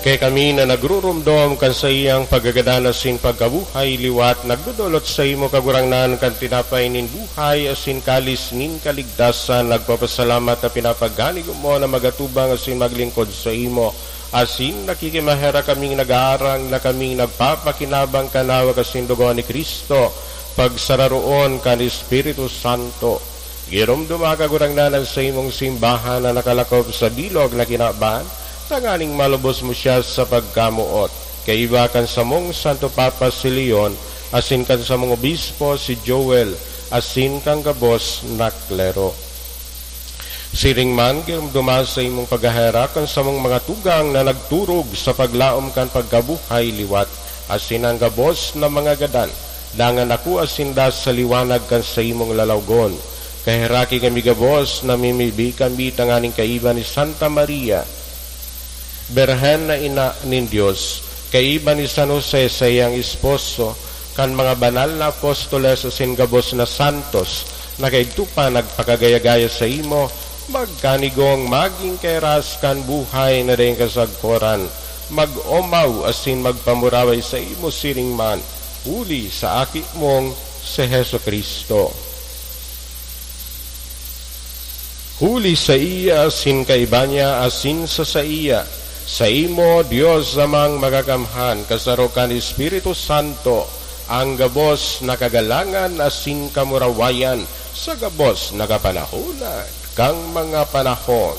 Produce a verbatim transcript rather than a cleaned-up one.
Kaya kami na nagrurumdom kan saiyang pagkagadan asin pagkabuhay liwat, nagdodolot saimo, Kagurangnan, kan tinapay nin buhay asin kalis nin kaligtasan, nagpapasalamat na pinapagkanigo mo na magatubang asin maglingkod saimo, asin nakikimaherak kaming nag-aarang na kaming nagpapakinabang kan hawak asin dugo ni Cristo, pagsararoon kan Espiritu Santo. Giromdoma, Kagurangnan, an saimong simbahan na nakalakop sa bilog na kinaban, tanganing malubos mo siya sa pagkamoot, kaiba kan samong Santo Papa si Leon, asin kan samong Obispo si Joel, asin kan gabos na klero. Siring man, giromdoma sa imong paghaherak kan samong mga tugang na nagturog sa paglaom kan pagkabuhay liwat, asin an gabos na mga gadan, dangan nakua sinda sa liwanag kan saimong lalawgon. Kaheraki kami gabos, namimibi kami tanganing kaiba ni Santa Maria, Birhen na ina nin Dios, kaiba ni San Jose, saiyang esposo, kan mga banal na apostoles asin gabos na santos na kaidto pa nagpakagaya-gaya saimo, magkanigong magin kairas kan buhay na daing kasagkoran, mag-omaw asin magpamuraway saimo siring man, huli sa Aki mong si Jesu-Cristo. Huli saiya, asin kaiba niya, asin sa saiya, saimo, Dios Amang Makakamhan, kasaro kan Espiritu Santo, an gabos na kagalangan asin kamurawayan sa gabos na kapanahonan kan mga panahon.